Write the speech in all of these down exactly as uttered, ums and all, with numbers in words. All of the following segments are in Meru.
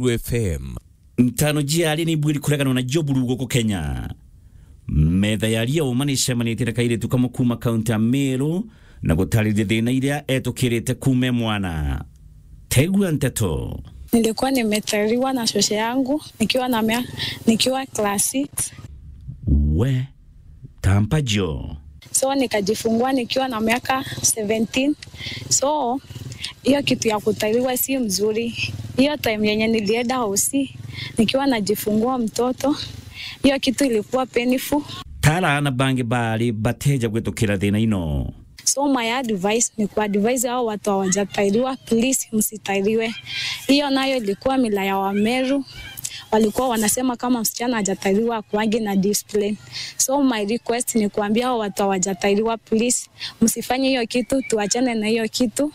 F M. Ntano jiari ni bwiri kureganwa na Job Rugo ku Kenya. Metha ya ria uma ni cemanitie na kairitu kamwe kuuma kaunti ya Meru na gutariria thina iria etukirite kuuma e mwana. Tegua nteto. Nilikuwa nimetaliwa na shosho yangu nikiwa na mea-, nikiwa class six. We, tampa jo. So nikajifungua nikiwa na miaka seventeen. So hiyo kitu ya kutaliwa si mzuri. Hiyo time yenye nilienda hosi nikiwa najifungua mtoto, hiyo kitu ilikuwa painful. Tara na bangi bari bateja gwitukira thina ino. So my advice ni kuadvise hao watu hawajatairiwa, please msitairiwe. Hiyo nayo ilikuwa mila ya Wameru. Walikuwa wanasema kama msichana hajatairiwa akuangi na discipline. So my request ni kuambia hao watu hawajatairiwa, please msifanye hiyo kitu, tuachane na hiyo kitu.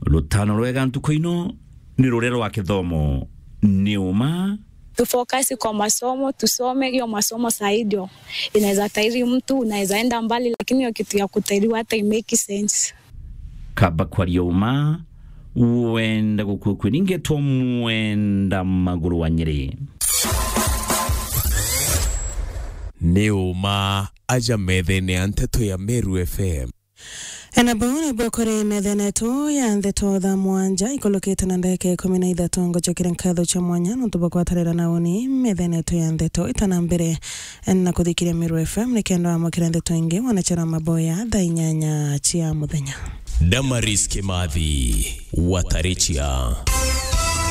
Rutano rwega ntuku ino ni ruria rwa kithomo. Ni uma. Tufocus kwa masomo, tusome hiyo masomo sahi ndio inaweza tairi mtu, unaweza enda mbali, lakini hiyo kitu ya kutairiwa hata imake sense. Kaba kwaria uma, wenda gukua kwi ningetwo mwenda maguru wa Nyeri. Ni uma aja methene ya nteto ya Meru F M. Ena bau nibwo kuri methene yetu ya ndeto thaa mwanja ikulukite na ndagika ikumi na ithatu. Ngucokere nkatho cia mwanya nontu bwa gwatarira na uni methene yetu ya ndeto itana mbere na kuthikiria Meru F M nikenda wamukira ndeto ingi wanachara maboya thaa inyanya cia muthenya. Damaris Kimathi, Watarichia.